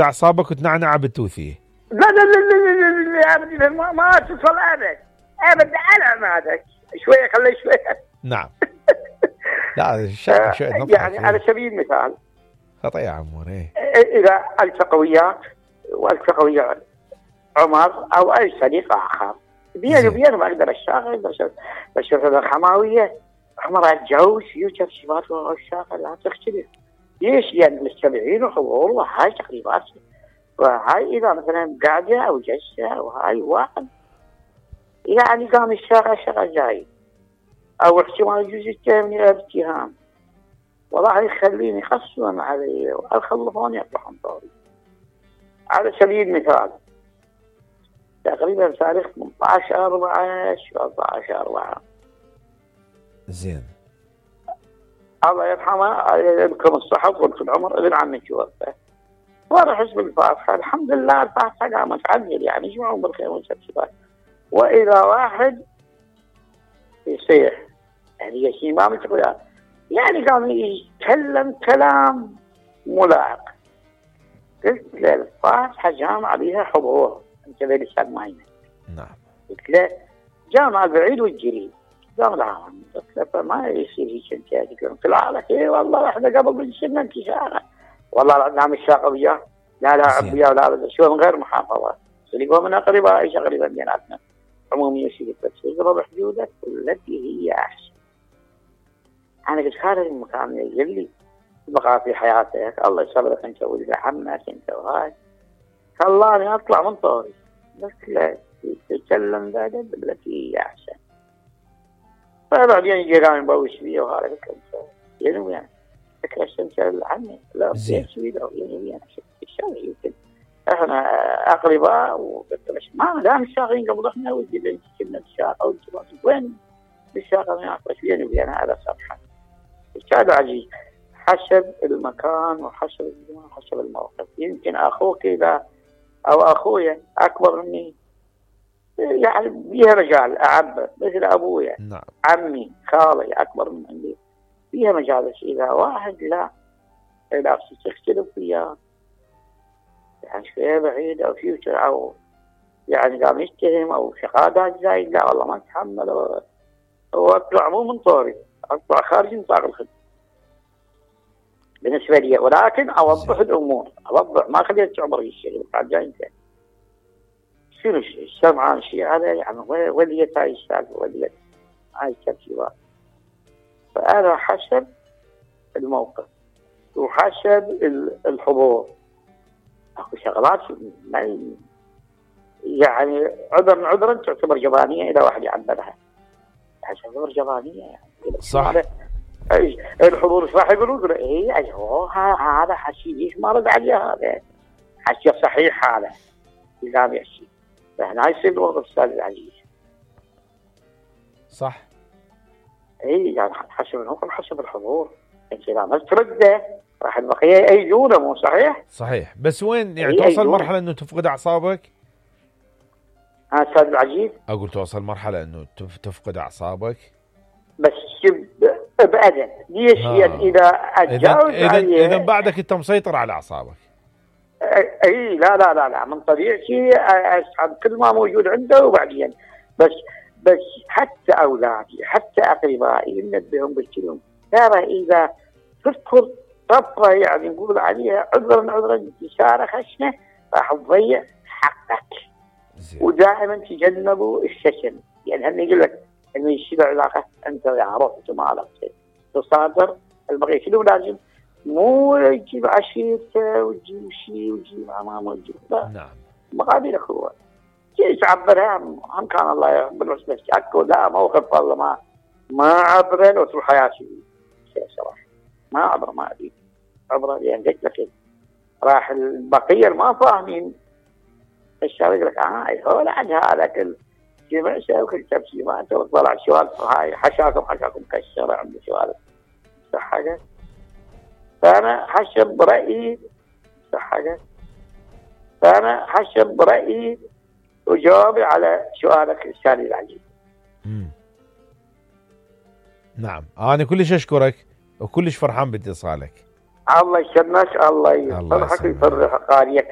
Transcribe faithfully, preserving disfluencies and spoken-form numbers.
اعصابك وتنعنع بالتوثيه. لا لا لا لا لا لا ما, ما تصل ابد ابد على مالك شويه خلي شويه. نعم. لا الشيء شيء يعني على سبيل المثال خطأ يا عمور. اذا التقى وياك والتقى ويا عمر او اي صديق اخر بيني وبينه ما اقدر اشتغل بس بس الحماويه عمر اتجوز يوجد شباب الشاغل لا تختلف. ليش؟ لان مستمعين وحضور وهاي تقريبات وهاي اذا مثلا قاعده او جلسه وهاي واحد يعني قام الشاغل شغل جاي او احتمال يجوز يتهمني باتهام والله يخليني يخصون علي ويخلفوني يطلعون طوري. على سبيل المثال تقريبا تاريخ ثمانية عشر أربعة أربعة عشر أربعة زين الله يرحمه يذكر الصحة وطول العمر ابن عمي توفى وانا حزب الفاتحة الحمد لله الفاتحة قامت تعدل يعني يجمعون بالخير والسبسبات واذا واحد يصيح يعني يشي ما متقول يعني قام يتكلم كلام ملاعق قلت له الفاتحة جامعة بها حضور انت بلسان ماينة. نعم. قلت له جامعة بعيد والجريد قال لا قلت له فما يصير هيك انت قلت له لك اي والله احنا قبل بالسنة انت شاغل والله نعم الشاقة وياه لا لا عبيا ولا بد شو من غير محافظة اللي من اقرباء تقريبا بيناتنا عمومية شيء بس اضرب حدودك والتي هي احسن. انا قلت هذا المكان يلي بقى في حياتك الله يسلمك انت ولد عمك انت وهاي خلاني اطلع من طوري قلت له تتكلم بادب بالتي هي احسن. فبعدين يجي قام يبوش فيه وهذا قلت له انت يعني وين تكلمت انت عني لا بيش فيه يعني وين الشغل يمكن احنا اقرباء وقلت له ما دام الشاغين قبل احنا ودي بنت كنا الشاقه والجبال وين الشاقه ما يعرفش بيني وبين هذا صفحه. هذا عجيب حسب المكان وحسب الزمان وحسب الموقف. يمكن اخوك اذا او اخويا اكبر مني يعني بيها مجال اعبر مثل ابويا. نعم. عمي خالي اكبر من عندي فيها مجال بس اذا واحد لا لا تختلف وياه يعني شويه بعيد او فيوتشر او يعني قام يتهم او شهادات زايد لا والله ما اتحمل واطلع مو من طوري اطلع خارج نطاق الخدمه بالنسبه لي ولكن اوضح الامور اوضح ما خليت تعبر الشيء بعد جاي انت شنو الشيء سمعان شيء هذا يعني وليت هاي السالفه وليت هاي الترتيبات. فانا حسب الموقف وحسب الحضور اكو شغلات يعني عذر عذرا تعتبر جبانيه اذا واحد يعبرها تعتبر جبانيه يعني صح. الحضور راح يقولون اي ايوه هذا حكي ليش ما رد عليه هذا حكي صحيح هذا لازم يحكي فهنا يصير الوضع استاذ العزيز. صح. اي يعني حسب الحكم حسب الحضور انت اذا ما ترده راح البقيه يأيدونه مو صحيح؟ صحيح بس وين يعني توصل مرحله انه تفقد اعصابك؟ ها استاذ العزيز اقول توصل مرحله انه تفقد اعصابك بس بأدب ليش آه. يعني إذا أتجاوز إذا إذا بعدك أنت مسيطر على أعصابك. أي لا لا لا لا من طبيعتي أسحب كل ما موجود عنده وبعدين بس بس حتى أولادي حتى أقربائي ننبههم بالكلام ترى إذا تذكر طفرة يعني نقول عليها عذرا عذرا إشارة خشنة راح تضيع حقك. زي. ودائما تجنبوا الشتم يعني هم يقول لك انه يشيل علاقه انت يا رحت ما علاقتك تصادر البقيه شنو لازم مو يجيب عشيرته ويجيب شيء ويجيب امامه ويجيب لا. نعم. مقابل اخوه شيء تعبرها هم كان الله يقبل بس اكو لا موقف والله ما ما عبره لو طول حياتي شيء صراحه ما عبره ما ادري عبره يعني قلت لك راح البقيه ما فاهمين الشباب يقول لك اه هو عند هذا كل جمع شيء وكل تبسي ما انت طلع شوال هاي حشاكم حشاكم كسر عنده شوال صح حاجه. فانا حسب رايي صح حاجه فانا حسب رايي وجاوبي على سؤالك الثاني العجيب. امم نعم انا كلش اشكرك وكلش فرحان باتصالك. الله يسلمك الله يفرحك ويفرح قاريك.